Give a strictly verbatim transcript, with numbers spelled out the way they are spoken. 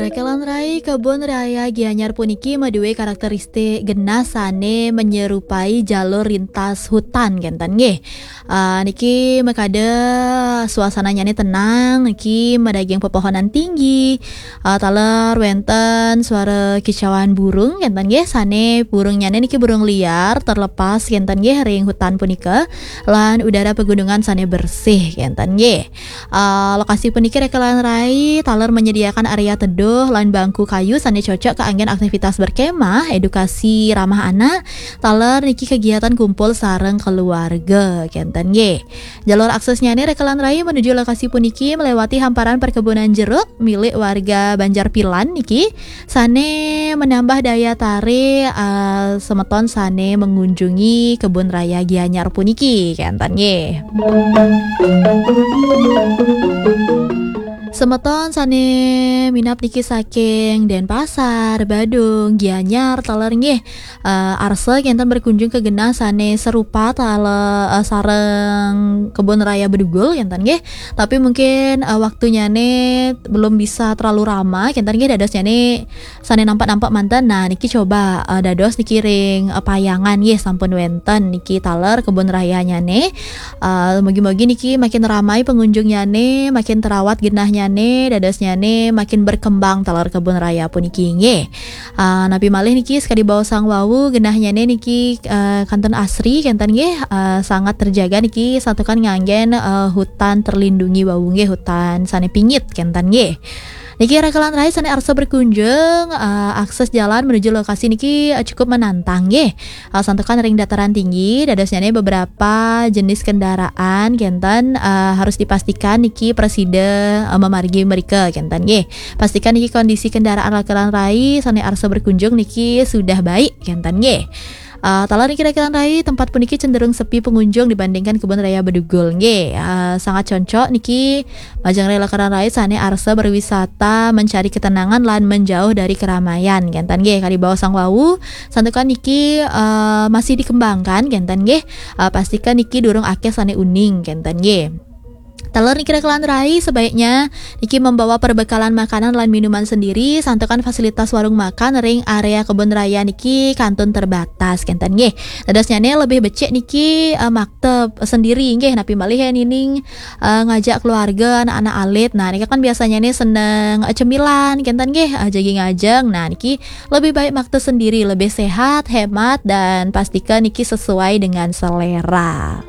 Rekelan rai, kebun raya Gianyar puniki madué karakteristik genah sané menyerupai jalur lintas hutan kénten nggih. Ah, niki makada suasananyané tenang, niki madaging pepohonan tinggi, ah, taler wénten suara kicauan burung kénten nggih, sané burungnyané niki burung liar terlepas kénten nggih ring hutan punika, lan udara pegunungan sané bersih kénten nggih. Ah, lokasi puniki rekelan rai taler menyediakan area teduh lan bangku kayu sané cocok kaanggén aktivitas berkemah, edukasi ramah anak, taler niki kegiatan kumpul sareng keluarga kénten nggih. Jalur aksesnyané rekelan rai menuju lokasi puniki melewati hamparan perkebunan jeruk milik warga Banjar Pilan niki, sané menambah daya tarik, ah, semeton sané mengunjungi kebun raya Gianyar puniki kénten nggih. Semeton sané minab niki saking Denpasar, Badung, Gianyar taler nggih, eh, arsa kénten berkunjung ke genah sané serupa taler, eh, sareng kebun raya Bedugul kénten nggih. Tapi mungkin, eh, waktunyané belum bisa terlalu rama kénten nggih, dadosnyané sané nampak-nampak manten. Nah, niki coba, eh, dados niki ring, eh, Payangan nggih sampun wénten niki taler kebun rayanyané. Eh, mugi-mugi niki makin ramai pengunjungnyané, makin terawat genahnyané, dadosnyané makin berkembang taler kebun raya puniki nggih. Eh, napi malih niki sakadi baosang wau genahnyané niki, eh, kantun asri kénten nggih, eh, sangat terjaga niki santukan nganggén, eh, hutan terlindungi wau nggih, hutan sané pingit kénten nggih. Niki rekelan rai sané arsa berkunjung, eh, akses jalan menuju lokasi niki, eh, cukup menantang nggih. Eh, santukan ring dataran tinggi, dadosnyané beberapa jenis kendaraan kénten, eh, harus dipastikan niki prasida, eh, memargi mrika kénten nggih. Pastikan niki kondisi kendaraan rekelan rai sané arsa berkunjung niki sudah baik kénten nggih. Ah, taler niki rekelan rai, tempat puniki cenderung sepi pengunjung dibandingkan kebun raya Bedugul nggih. Ah, sangat cocok niki majeng rekelan rai sané arsa berwisata, mencari ketenangan lan menjauh dari keramaian kénten nggih. Kadi baosang wau, santukan niki, eh, masih dikembangkan kénten nggih. Eh, pastikan niki durung akéh sané uning kénten nggih. Taler niki rekelan rai, sebaiknya niki membawa perbekalan makanan lan minuman sendiri, santukan fasilitas warung makan ring area kebun raya niki kantun terbatas kénten nggih. Dadosnyané lebih becik niki, eh, makta sendiri nggih, napi malih yén niki, eh, ngajak keluarga, anak-anak alit. Nah, niki kan biasanya nih seneng, eh, cemilan kénten nggih, eh, jagi ngajeng. Nah, niki lebih baik makta sendiri, lebih sehat, hemat, dan pastikan niki sesuai dengan selera.